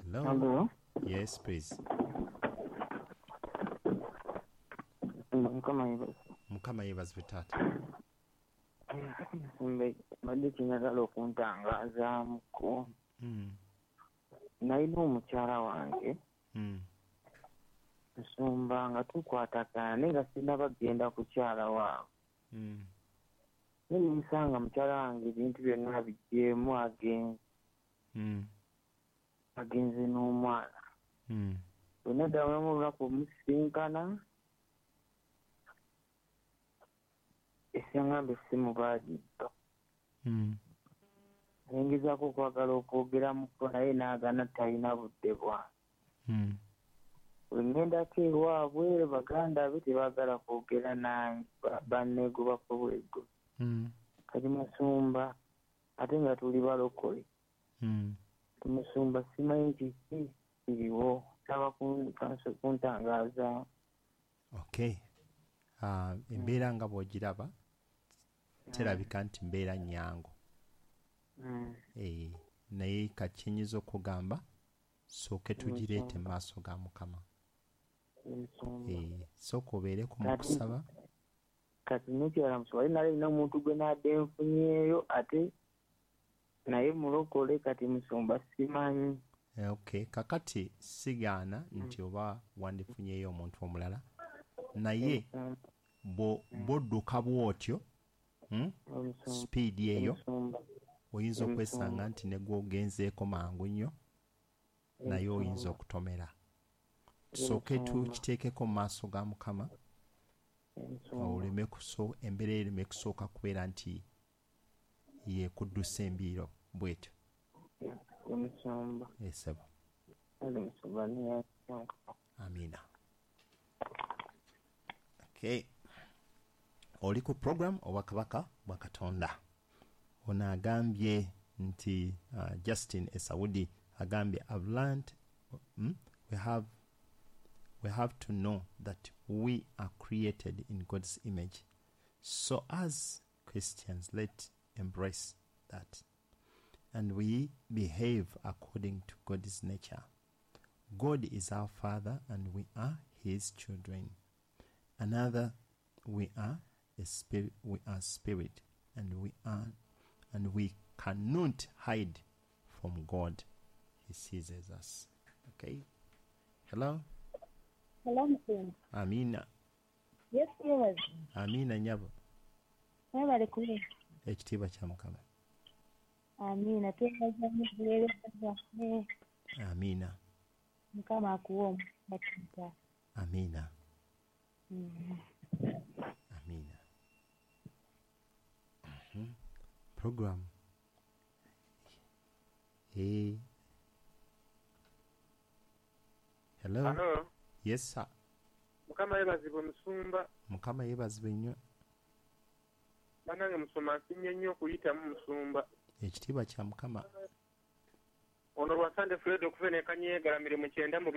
Hello. Hello. Yes, please. Mukama yeebazibwe. Mukama yeebazibwe taata. Mbadde kinjagala okuntangazaamuko. Nalina omukyala wange. Nsumba nga tukwatagana naye nga sinnaba kugenda kukyala waabwe. Naye ne nsanga mukyala wange ebintu byonna abiggyeemu agenze. Agenze n'omwana. Bwe naddamu olunaku omusisinkana, esangamba essimu baagibba. Ne ngezaako okwagala okwogeramuko naye n'agaana talina budde bwange. Bwe ŋŋendako ewaabwe baganda be tebaagala kwogera nange, banneegobako bwego. Kati musumba ate nga tuli balokole. Musumba simanyi kiki kiriwo, nsaba kuntangaaza. Okay. Embeera nga bw'ogiraba terabika nti mbeera nnyangu. Naye kati kye okugamba sooke tugireete mu maaso ga Mukama. Sooka obeereko mu kusaba. Kati n'ekirala musumba, nalina omuntu gwe nadde nfunyeeyo ate naye mulokole, kati musumba simanyi. Okay, kakati sigaana nti oba wandifunyeeyo omuntu omulala, naye bw'odduka bw'otyo sipiidi eyo oyinza okwesanga nti ne gw'ogenzeeko mangu nnyo naye oyinza okutomera. Tusooke tukiteekeko mu maaso ga Mukama, embeera ereme kusooka kubeera nti yekuddusa embiiro bw'etyo. Esebo. Amina. Okay. Oli ku program Obwakabaka bwa Katonda. Ono agambye nti Justin Esaudi agambye I've learned we have to know that we are created in God's image. So as Christians, let's embrace that. And we behave according to God's nature. God is our Father and we are His children. Another, we are a spirit, we are spirit, and we cannot hide from God. He sees us. Okay. Hello. Hello, Mr. Amina. Yes, yes. Amina nyabo. Mwebale kubeera. Ekitiibwa kya Mukama. Amina. Twebaza nnyo obuweereza bwaffe. Amina. Mukama akuwe omukisa. Amina. Amina. Program. Hey. Hello. Hello. Yes, sir. Mukama yeebazibwe musumba. Mukama yeebazibwe nnyo. Bannange musumba nsiimye nnyo okuyitamu musumba. Ekitiibwa kya Mukama. Ono lwa Sande Fred okuva e Kanyeegalamire mu 92.